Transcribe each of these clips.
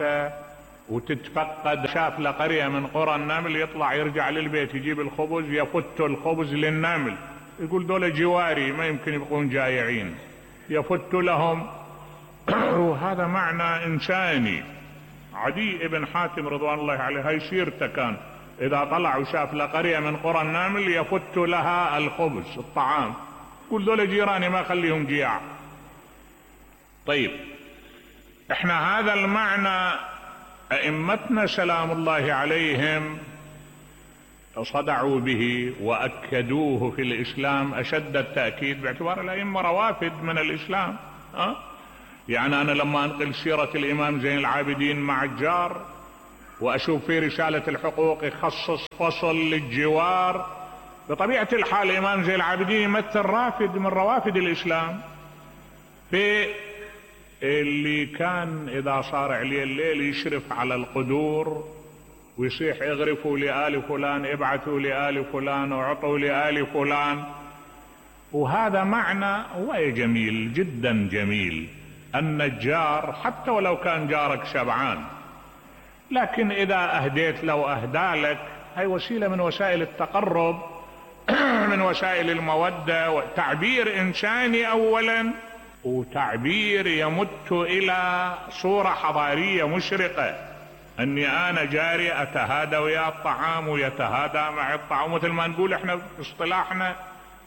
مالته وتتفقد، شاف له قرية من قرى النمل، يطلع يرجع للبيت يجيب الخبز، يفت الخبز للنمل، يقول دول جواري ما يمكن يبقون جايعين، يفت لهم. وهذا معنى إنساني. عدي بن حاتم رضوان الله عليه هاي سيرته كان، إذا طلع وشاف لقرية من قرى النمل يفت لها الخبز الطعام، يقول دول جيراني ما خليهم جياع. طيب احنا هذا المعنى أئمتنا سلام الله عليهم صدعوا به وأكدوه في الإسلام أشد التأكيد، باعتبار الأئمة روافد من الإسلام. يعني أنا لما أنقل سيرة الإمام زين العابدين مع الجار وأشوف في رسالة الحقوق يخصص فصل للجوار، بطبيعة الحال الإمام زين العابدين يمثل رافد من روافد الإسلام، في اللي كان إذا صار عليه الليل يشرف على القدور ويصيح اغرفوا لآل فلان، ابعثوا لآل فلان، وعطوا لآل فلان. وهذا معنى جميل جدا جميل، أن الجار حتى ولو كان جارك شبعان، لكن إذا أهديت له أهدى لك، هي وسيلة من وسائل التقرب، من وسائل المودة، وتعبير إنساني أولا، وتعبير يمت إلى صورة حضارية مشرقة، أني أنا جاري أتهادى ويا الطعام ويتهادى مع الطعام، مثل ما نقول إحنا في اصطلاحنا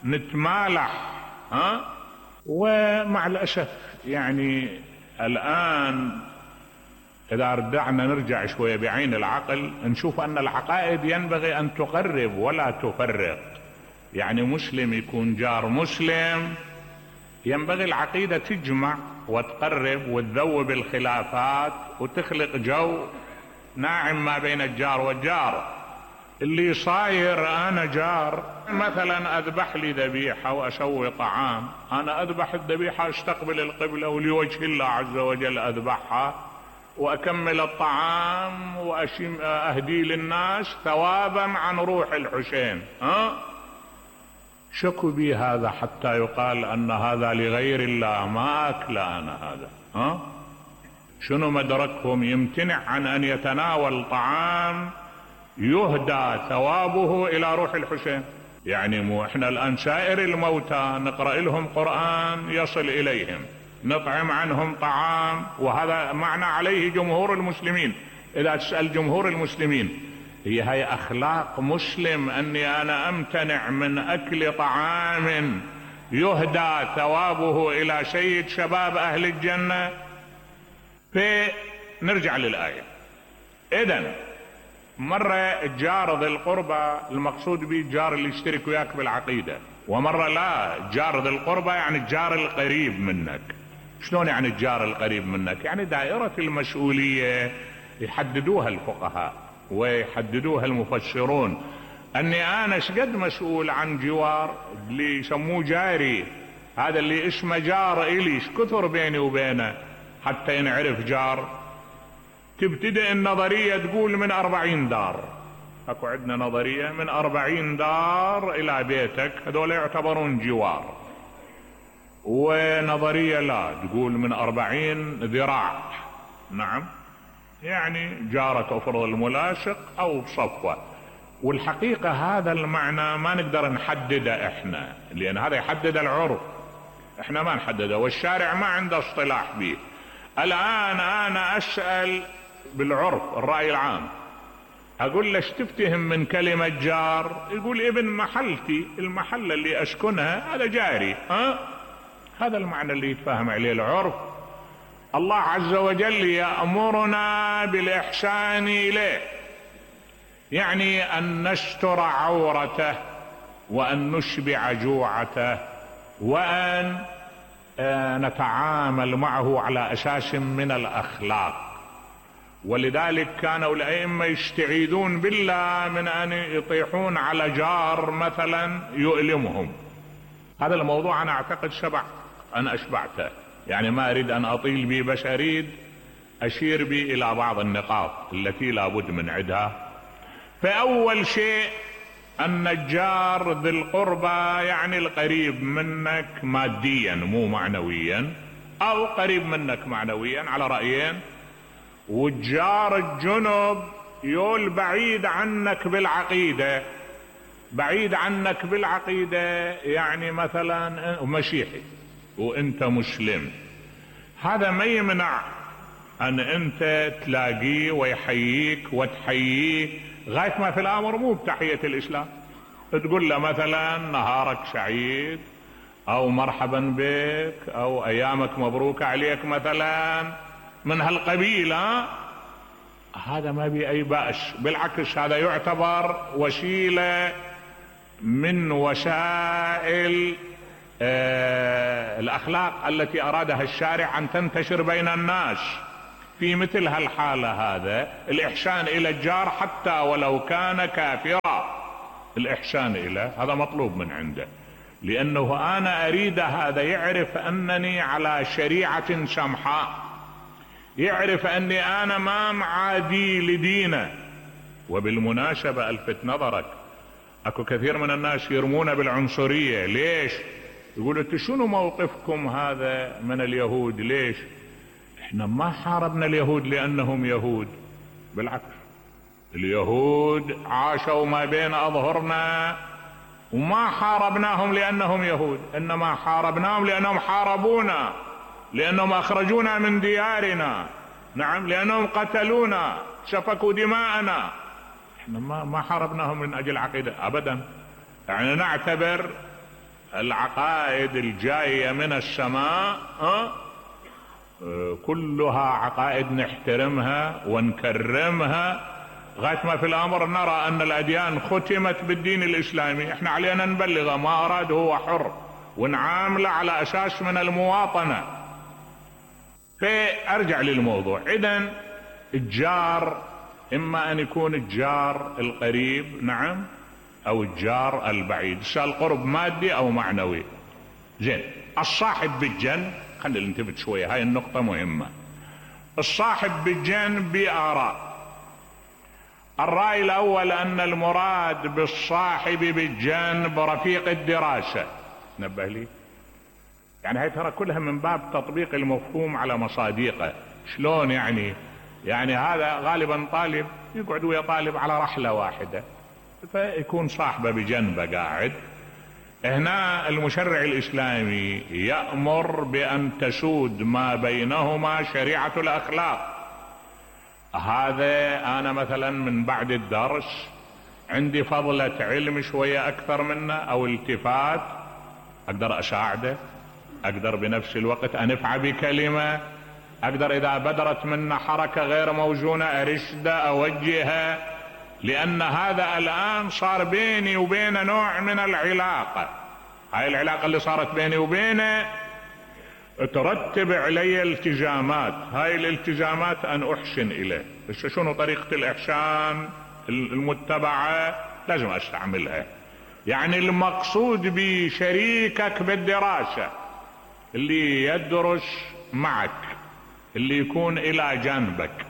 نتمالح. ومع الأسف يعني الآن إذا رجعنا نرجع شوية بعين العقل نشوف أن العقائد ينبغي أن تقرب ولا تفرق. يعني مسلم يكون جار مسلم، ينبغي العقيدة تجمع وتقرب وتذوب الخلافات وتخلق جو ناعم ما بين الجار والجار. اللي صاير أنا جار مثلا أذبح لي ذبيحة وأسوي طعام، أنا أذبح الذبيحة استقبل القبلة ولوجه الله عز وجل أذبحها وأكمل الطعام وأهدي للناس ثوابا عن روح الحسين. شكوا بي هذا حتى يقال أن هذا لغير الله، ما أكل أنا هذا. شنو مدركهم؟ يمتنع عن أن يتناول طعام يهدى ثوابه إلى روح الحسين. يعني مو احنا الآن سائر الموتى نقرأ لهم قرآن يصل إليهم، نطعم عنهم طعام، وهذا معنى عليه جمهور المسلمين. إذا تسأل جمهور المسلمين هي أخلاق مسلم أني أنا أمتنع من أكل طعام يهدى ثوابه إلى سيد شباب أهل الجنة؟ فنرجع للآية. إذن مرة الجار ذي القربى المقصود به الجار اللي يشترك وياك بالعقيدة، ومرة لا، جار ذي القربى يعني الجار القريب منك. شلون يعني الجار القريب منك؟ يعني دائرة المسؤولية يحددوها الفقهاء ويحددوها المفسرون، أني أنا شقد مسؤول عن جوار اللي يسموه جاري، هذا اللي اسمه جار إلي، شكثر بيني وبينه حتى ينعرف جار. تبتدئ النظرية تقول من 40 دار، اكو عندنا نظرية من 40 دار الى بيتك هذول يعتبرون جوار، ونظرية لا تقول من 40 ذراع. نعم، يعني جارة افرض الملاصق او بصفوة. والحقيقة هذا المعنى ما نقدر نحدده احنا، لان هذا يحدد العرف، احنا ما نحدده، والشارع ما عنده اصطلاح به. الان انا اسأل بالعرف الرأي العام، اقول له ايش تفتهم من كلمة جار؟ يقول ابن محلتي، المحلة اللي اسكنها هذا جاري. هذا المعنى اللي يتفاهم عليه العرف. الله عز وجل يأمرنا بالإحسان إليه، يعني أن نستر عورته وأن نشبع جوعته وأن نتعامل معه على أساس من الأخلاق. ولذلك كانوا الأئمة يستعيذون بالله من أن يطيحون على جار مثلا يؤلمهم. هذا الموضوع أنا أعتقد أنا أشبعته، يعني ما أريد أن أطيل به، بس أريد أشير به إلى بعض النقاط التي لا بد من عدها. فأول شيء أن الجار ذي القربى يعني القريب منك ماديا مو معنويا، أو قريب منك معنويا على رأيين، والجار الجنب يول بعيد عنك بالعقيدة، بعيد عنك بالعقيدة، يعني مثلا مسيحي وانت مسلم، هذا ما يمنع ان انت تلاقيه ويحييك وتحييه غاية ما في الامر مو بتحية الاسلام، تقول له مثلا نهارك سعيد او مرحبا بك او ايامك مبروك عليك مثلا من هالقبيل. هذا ما بي اي بأس، بالعكس هذا يعتبر وسيلة من وسائل الاخلاق التي ارادها الشارع ان تنتشر بين الناس. في مثل هالحالة هذا الاحسان الى الجار حتى ولو كان كافرا، الاحسان اليه هذا مطلوب من عنده، لانه انا اريد هذا يعرف انني على شريعة سمحاء، يعرف اني انا ما معادي لدينه. وبالمناسبة الفت نظرك، اكو كثير من الناس يرمون بالعنصرية. ليش؟ يقول انتوا شنو موقفكم هذا من اليهود؟ ليش؟ احنا ما حاربنا اليهود لانهم يهود، بالعكس اليهود عاشوا ما بين اظهرنا وما حاربناهم لانهم يهود، انما حاربناهم لانهم حاربونا، لانهم اخرجونا من ديارنا، نعم، لانهم قتلونا سفكوا دماءنا. احنا ما حاربناهم من اجل عقيدة ابدا. يعني نعتبر العقائد الجاية من السماء كلها عقائد نحترمها ونكرمها، غاية ما في الامر نرى ان الاديان ختمت بالدين الاسلامي، احنا علينا نبلغه، ما اراد هو حر، ونعامله على اساس من المواطنة. فارجع للموضوع. اذن الجار اما ان يكون الجار القريب، نعم، او الجار البعيد، القرب مادي او معنوي. زين، الصاحب بالجنب، خلينا ننتبه شوية، هاي النقطة مهمة. الصاحب بالجنب بآراء. الرأي الاول ان المراد بالصاحب بالجنب رفيق الدراسة، نبه لي، يعني هاي ترى كلها من باب تطبيق المفهوم على مصادقه. شلون يعني؟ يعني هذا غالبا طالب يقعد ويا طالب على رحلة واحدة، فيكون صاحبه بجنبه قاعد. هنا المشرع الاسلامي يأمر بان تسود ما بينهما شريعة الاخلاق. هذا انا مثلا من بعد الدرس عندي فضلة علم شوية اكثر منه او التفات، اقدر اساعده، اقدر بنفس الوقت انفع بكلمة، اقدر اذا بدرت منه حركة غير موزونة ارشده اوجهه، لان هذا الان صار بيني وبينه نوع من العلاقة. هاي العلاقة اللي صارت بيني وبينه ترتب علي التزامات، هاي الالتزامات ان احسن اليه. بس شنو طريقة الاحسان المتبعة؟ لازم استعملها. يعني المقصود بشريكك بالدراسة اللي يدرس معك، اللي يكون الى جانبك،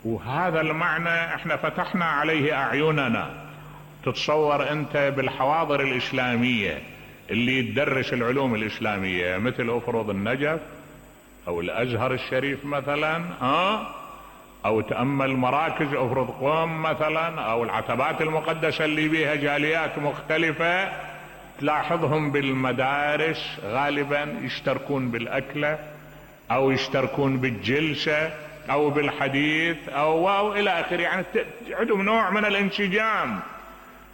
وهذا المعنى احنا فتحنا عليه اعيننا. تتصور انت بالحواضر الاسلامية اللي تدرس العلوم الاسلامية مثل افرض النجف او الازهر الشريف مثلا، او تأمل مراكز افرض قوم مثلا، او العتبات المقدسة اللي بيها جاليات مختلفة، تلاحظهم بالمدارس غالبا يشتركون بالاكلة او يشتركون بالجلسة او بالحديث او الى اخره. يعني عندهم نوع من الانسجام.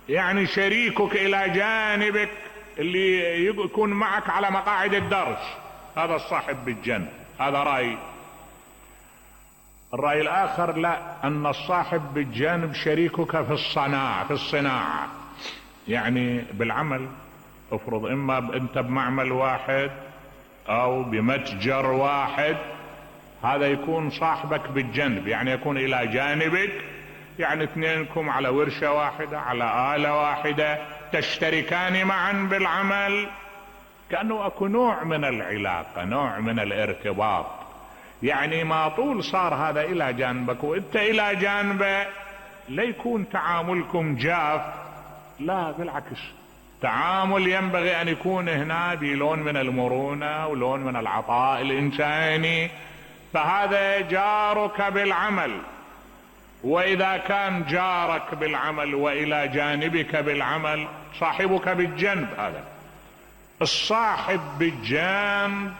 يعني شريكك الى جانبك اللي يكون معك على مقاعد الدرس، هذا الصاحب بالجنب. هذا رأي. الرأي الاخر لا، ان الصاحب بالجانب شريكك في الصناعة، يعني بالعمل. افرض اما انت بمعمل واحد او بمتجر واحد، هذا يكون صاحبك بالجنب، يعني يكون الى جانبك، يعني اثنينكم على ورشة واحدة، على آلة واحدة، تشتركان معا بالعمل، كأنه اكو نوع من العلاقة، نوع من الارتباط. يعني ما طول صار هذا الى جانبك وانت الى جانبه، لا يكون تعاملكم جاف، لا بالعكس، تعامل ينبغي ان يكون هنا بلون من المرونة ولون من العطاء الانساني، فهذا جارك بالعمل. واذا كان جارك بالعمل والى جانبك بالعمل، صاحبك بالجنب. هذا الصاحب بالجنب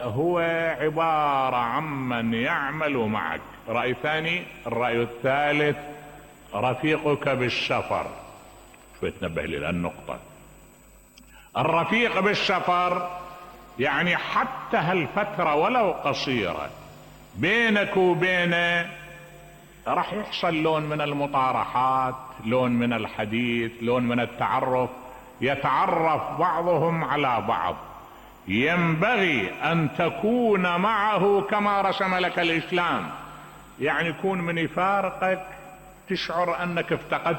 هو عبارة عمن يعمل معك. رأي ثاني. الرأي الثالث رفيقك بالسفر. شوي تنبه لي للنقطة. الرفيق بالسفر يعني حتى هالفترة ولو قصيرة بينك وبينه راح يحصل لون من المطارحات، لون من الحديث، لون من التعرف، يتعرف بعضهم على بعض. ينبغي ان تكون معه كما رسم لك الاسلام، يعني يكون من يفارقك تشعر انك افتقدت